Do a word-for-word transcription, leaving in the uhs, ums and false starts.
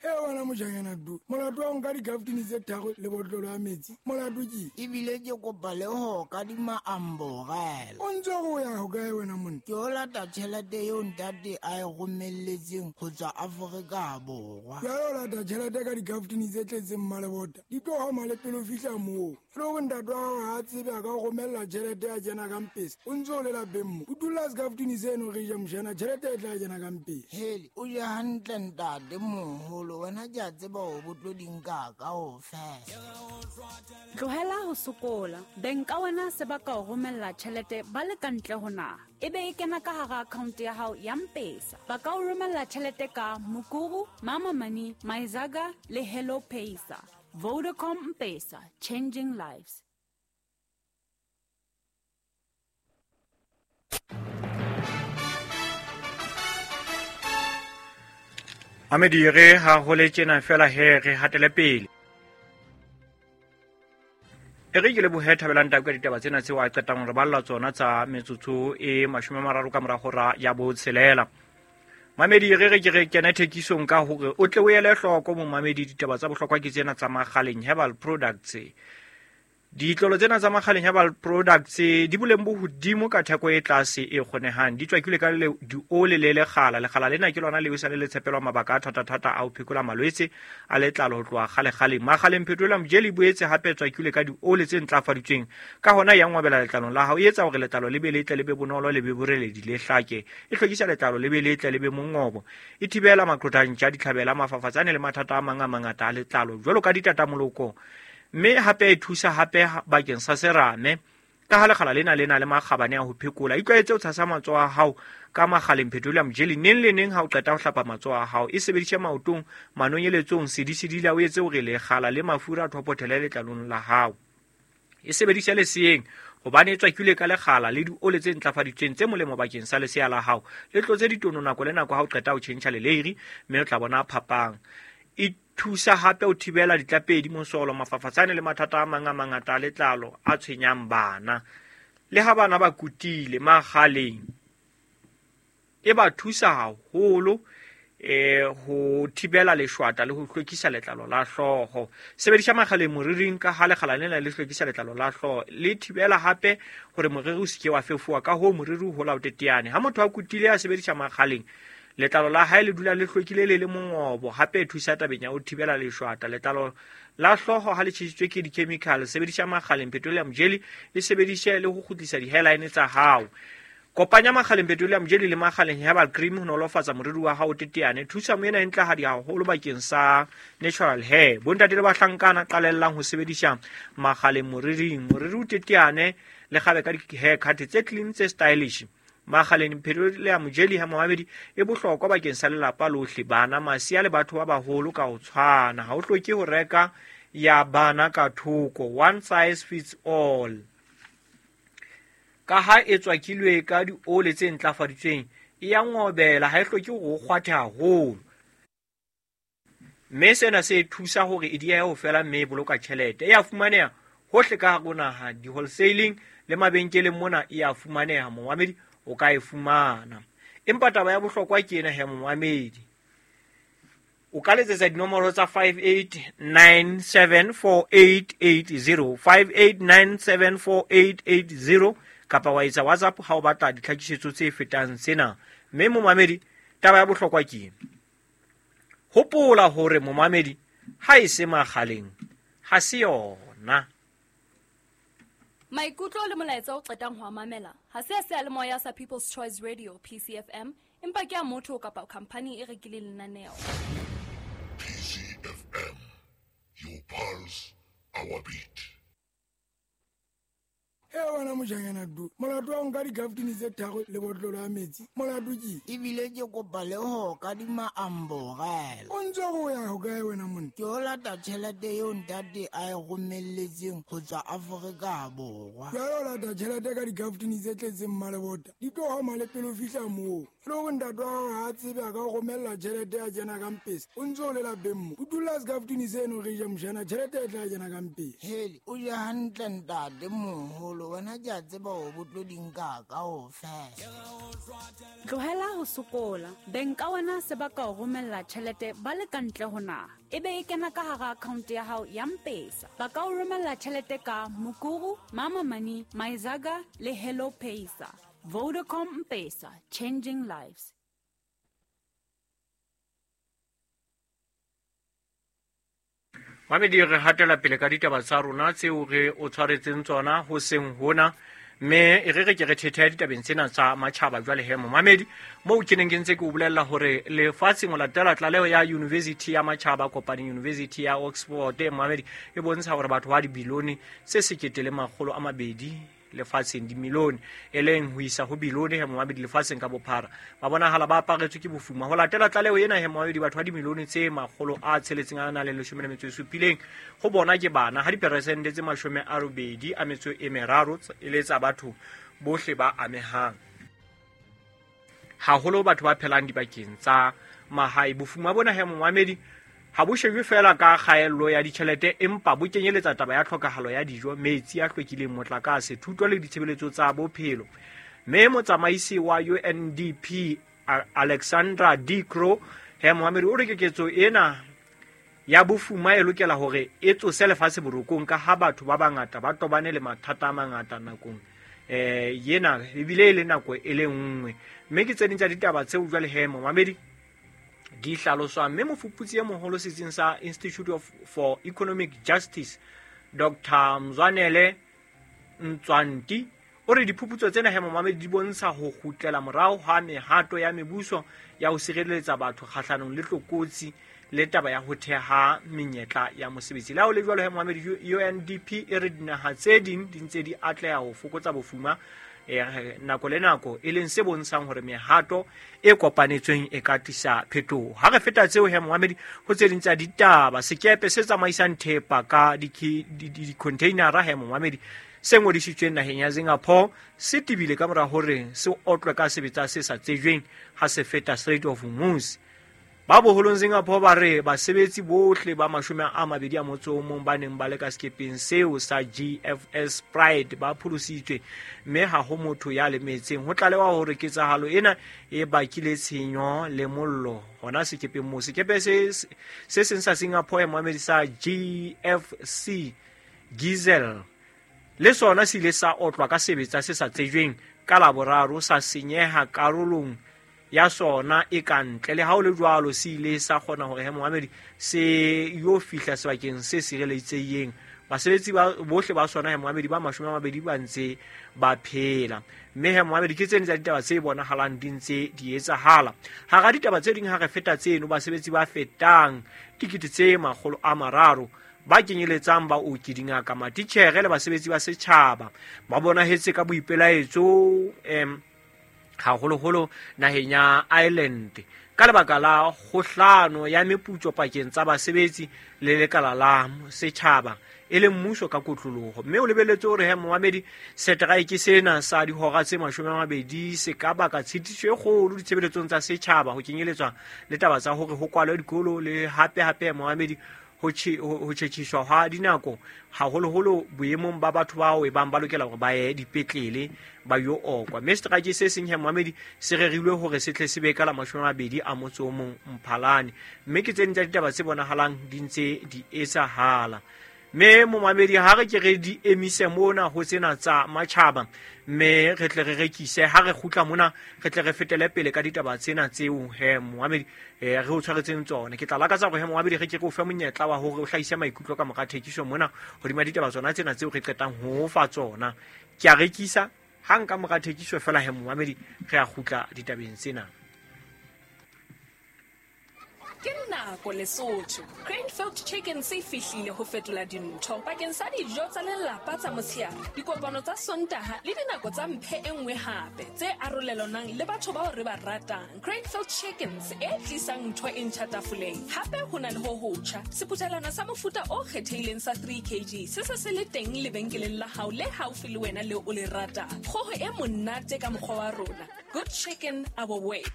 E wena mojanyana du molato wa nka dikaftini tse tharo le botlolo ya metsi molato ke ebile ke kopa le ho kadima amborela. O ntse go ya ho kae wena monna? Ke o lata tjhelete eo ntate a e romelletseng ho tswa Afrika Borwa. Jwale o lata tjhelete ka dikaftini tse tletseng mmalebota di tlo hama le pele o fihla moo. E le hore ntate wa hao ha a tsebe a ka o romella tjhelete ya kena ka mpesa o ntse o le lapeng mo o dula sekaftini seno re ja mojana tjhelete e tla kena ka mpesa. Hele o je hantle ntate moholo, wena ke a tseba hore bo tlo di nka kaofela. Tlohela ho sokola. Beng ka wena se ba ka o romella tjhelete ba le ka ntle ho naha. E be e kena ka hara account ya hao ya M-Pesa. Ba ka o romella tjhelete ka Mukuru, Mama Money, Myzaga le Hello Pesa. Vodacom M-Pesa, changing lives. Amedi re ha ho le tjena fela he re hatele pele. E re ke lebohe Thabelang Tau ka ditaba tsena tseo a qetang re balla tsona tsa metsotso e mashome a mararo ka mora hora ya botshelela. Mamedi re re ke re kene thekisong ka hore o tle o ele hloko momamedi ditaba tsa bohlokwa ke tsena tsa Makgaleng Herbal Products. Ditlolo tsena tsa Makgaleng Herbal Products di boleng bo hodimo ka theko e tlase e kgonehang. Di tswakilwe ka le diole le lekgala. Lekgala lena ke lona leo sa le tshepelwa mabaka a thata-thata a ho phekola malwetse a letlalo ho tloha kgale-kgale. Makgaleng Petroleum Jelly boetse hape tswakilwe ka diole tse ntlafaditsweng. Ka hona ya ngwabela letlalong la hao, e etsa hore letlalo le be letle le be bonolo le be boreledi le hlake. E hlwekisa letlalo le be letle le be mongobo. E thibela maqhotantja, ditlhabela, mafafatsane le mathata a mang a mangata a letlalo jwalo ka ditatamoloko. Mme hape e thusa hape bakeng sa serame ka ha lekgala lena le na le makgabane a ho phekola. Itlwaetse ho tshasa matsoho a hao ka Makgaleng Petroleum Jelly neng le neng ha o qeta ho hlapa matsoho a hao. E sebedise maotong, manonyeletsong, sedisedila o etse hore lekgala le mafura a thopothele letlalong la hao. E sebedise leseeng hobane e tswakilwe ka lekgala le diole tse ntlafaditsweng tse molemo bakeng sa lesea la hao. Le tlotse ditono nako le nako ha o qeta ho tjhentjha leleiri mme o tla bona phapang. E thusa hape ho thibela ditlapedi, mosolo, mafafatsane le mathata a mang a mangata a letlalo a tshwenyang bana. Le ha bana ba kutile Makgaleng e ba thusa haholo eh ho thibela leshwata le ho hlwekisa letlalo la hlooho. Sebedisa Makgaleng moriring ka ha lekgala lena le hlwekisa letlalo la hlooho. Le thibela hape hore moriri o seke wa fefowa, ka hoo moriri o hola o teteane. Ha motho a kutile a sebedisa Makgaleng, letlalo la hae le dula le hlwekile le le mongobo. Hape e thusa tabeng ya ho thibela leshwata. Letlalo la hlooho ha le tjhesitswe ke di-chemical, sebedisa Makgaleng Petroleum Jelly le sebedise le ho kgutlisa di-hairline tsa hao. Kopanya Makgaleng Petroleum Jelly le Makgaleng Herbal Cream ho nolofatsa moriri wa hao teteane. Thusa moena e ntlahadi haholo bakeng sa natural hair. Bontate le bahlankana qalellang ho sebedisa Makgaleng moriring. Moriri o teteane le kgabe ka di-haircut tse clean tse stylish. Makgaleng Petroleum Jelly ha momamedi e bohlokwa bakeng sa lelapa lohle, bana, masea le batho ba baholo ka ho tshwana. Ha o hloke ho reka ya bana ka thoko, one size fits all. Ka ha e tswakilwe ka diole tse ntlafaditsweng, e ya ngobela, ha e hloke hore o kgwathe haholo. Mme sena se thusa hore e diehe ho fela mme e boloka tjhelete. E a fumaneha hohle ka hare ho naha, di-wholesaling le mabenkeleng mona e a fumaneha momamedi, o ka e fumana. Empa taba ya bohlokwa ke ena he momamedi. O ka letsetsa dinomoro tsa five eight nine seven four eight eight zero, five eight nine seven four eight eight zero kapa wa etsa WhatsApp ha o batla ditlhakisetso tse fetang sena. Mme momamedi, taba ya bohlokwa ke ena. Hopola hore momamedi ha e se Makgaleng ha se yona. Maikutlo le molaetsa o qetang ho a mamela ha se a seyalemoya sa People's Choice Radio P C F M, empa ke a motho kapa khampani e rekileng lenaneo. P C F M, your pulse, our beat. E wena mojanyana du molato wa nka dikaftini tse tharo le botlolo ya metsi molato ke ebile ke kopa le ho kadima amborela. O ntse go ya ho kae wena monna? Ke o lata tjhelete eo ntate a e romelletseng ho tswa Afrika Borwa. Jwale o lata tjhelete ka dikaftini tse tletseng mmalebota di tlo hama le pele o fihla moo. E le hore ntate wa hao ha a tsebe a ka o romella tjhelete ya kena ka mpesa o ntse o le lapeng mo o dula sekaftini seno re ja mojana tjhelete e tla kena ka mpesa. Hele o je hantle ntate moholo, moholo wena ke a tseba hore bo tlo di nka kaofela. Tlohela ho sokola. Beng ka wena se ba ka o romella tjhelete ba le ka ntle ho naha. Ebe e kena ka hara account ya hao ya M-Pesa. Ba ka o romella tjhelete ka Mukuru, Mama Money, Myzaga le Hello Pesa. Vodacom M-Pesa, changing lives. Mamedi, re hatela pele ka ditaba tsa rona tseo re o tshwaretseng tsona ho seng hona, mme e re re ke re thethe ditabeng tsena tsa matjhaba jwale he momamedi, moo ke neng ke ntse ke o bolella hore lefatsheng ho latela tlaleho ya University ya Matjhaba Kopaneng University ya Oxford, momamedi, e bontsha hore batho ba dibilione tse sekete le makgolo a mabedi lefatsheng, dimilione e leng ho isa ho bilione he momamedi lefatsheng ka bophara ba bonahala ba aparetswe ke bofuma. Ho latela tlaleho ena he momamedi, batho ba dimilione tse makgolo a tsheletseng a nang le leshome le metso e supileng ho bona ke bana, ha diperesente tse mashome a robedi a metso e meraro e le tsa batho bohle ba amehang, haholo batho ba phelang dibakeng tsa mahae. Bofuma bona he momamedi ha bo shejwe fela ka kgaello ya ditjhelete, empa bo kenyeletsa taba ya tlhokahalo ya dijo, metsi a hlwekileng, motlakase, thuto le ditshebeletso tsa bophelo. Mme motsamaisi wa U N D P Alexandra D. Crow he momamedi o re keketso ena ya bofuma e lokela hore e tsose lefatshe borokong, ka ha batho ba bangata ba tobane le mathata a mangata nakong eh yena ebile e le nako e le nngwe. Mme ke tse ding tsa ditaba tseo jwale he momamedi di hlaloswang. Mme mofuputsi e moholo setsing sa Institute of for Economic Justice Doctor Mzwanele Ntswanti o re diphuputso tsena he momamedi di bontsha ho kgutlela morao ha mehato ya mebuso ya ho sireletsa batho kgahlanong le tlokotsi le taba ya ho theha menyetla ya mosebetsi. Le ha ho le jwalo he momamedi, U N D P e re dinaha tse ding di ntse di atleha ho fokotsa bofuma nako le nako, e leng se bontshang hore mehato e kopanetsweng e ka tlisa phetoho. Ha re feta tseo he momamedi, ho tse ding tsa ditaba, sekepe se tsamaisang thepa ka di-containera he momamedi se ngodisitsweng naheng ya Singapore se tebile ka mora hore se otlwe ka sebetsa se sa tsejweng ha se feta Strait of Hormuz. Ba boholong Singapore ba re basebetsi bohle ba mashome a mabedi a motso o mong ba neng ba le ka sekepeng seo sa G F S Pride ba pholositswe, mme ha ho motho ya lemetseng. Ho tlalewa hore ketsahalo ena e bakile tshenyo le mollo hona sekepeng moo. Sekepe se se seng sa Singapore momamedi sa G F C Giselle le sona se ile sa otlwa ka sebetsa se sa tsejweng ka Laboraro, sa senyeha karolong ya sona e ka ntle. Le ha ho le jwalo, se ile sa kgona hore he momamedi se yo fihla sebakeng se sireletsehileng. Basebetsi ba bohle ba sona he momamedi ba mashome a mabedi ba ntse ba phela. Mme he momamedi ke tsene tsa ditaba tse bonahalang di ntse di etsahala. Hara ditaba tse ding ha re feta tseno, basebetsi ba fetang dikete tse makgolo a mararo ba kenyeletsang baoki, dingaka, matitjhere le basebetsi ba setjhaba ba bonahetse ka boipelaetso em haholoholo naheng ya Ireland ka lebaka la kgohlano ya meputso pakeng tsa basebetsi le lekala la setjhaba e leng mmuso ka kotloloho. Mme o lebelletse hore he momamedi seteraeke sena sa dihora tse mashome a mabedi se ka baka tshitiso e kgolo ditshebeletsong tsa setjhaba, ho kenyeletswa le taba tsa hore ho kwalwe dikolo le hape hape momamedi ho tjhetjhiswa ha dinako, haholoholo boemong ba batho bao e bang ba lokela hore ba ye dipetlele ba yo okwa. Mme setereke se seng he momamedi se rerilwe hore se tle se be ka la mashome a mabedi a motso o mong Mphalane. Mme ke tse ding tsa ditaba tse bonahalang di ntse di etsahala. Mme momamedi ha re ke re di emise mona ho tsena tsa matjhaba, mme re tle re rekise. Ha re kgutla mona re tle re fetele pele ka ditaba tsena tseo he momamedi re o tshwaretseng tsona. Ke tla lakatsa hore he momamedi re ke re o fe monyetla wa hore o hlahise maikutlo ka mora thekiso mona hodima ditaba tsona tsena tseo re qetang ho fa tsona. Ke a rekisa hang ka mora thekiso fela he momamedi re a kgutla ditabeng tsena. Ke nako Lesotho. Cranefield Chicken se fihlile ho fetola dintho bakeng sa dijo tsa lelapa tsa motshehare, dikopano tsa Sontaha le dinako tsa mphe e nngwe hape tse arolelanang le batho bao re ba ratang. Cranefield Chickens e tlisang ntho e ntjha tafoleng. Hape ho na le ho hotjha seputhelwana sa mofuta o kgethehileng sa three kilograms se se se le teng lebenkeleng la hao le haufi le wena le o le ratang. Kgoho e monate ka mokgwa wa rona. Good chicken our way.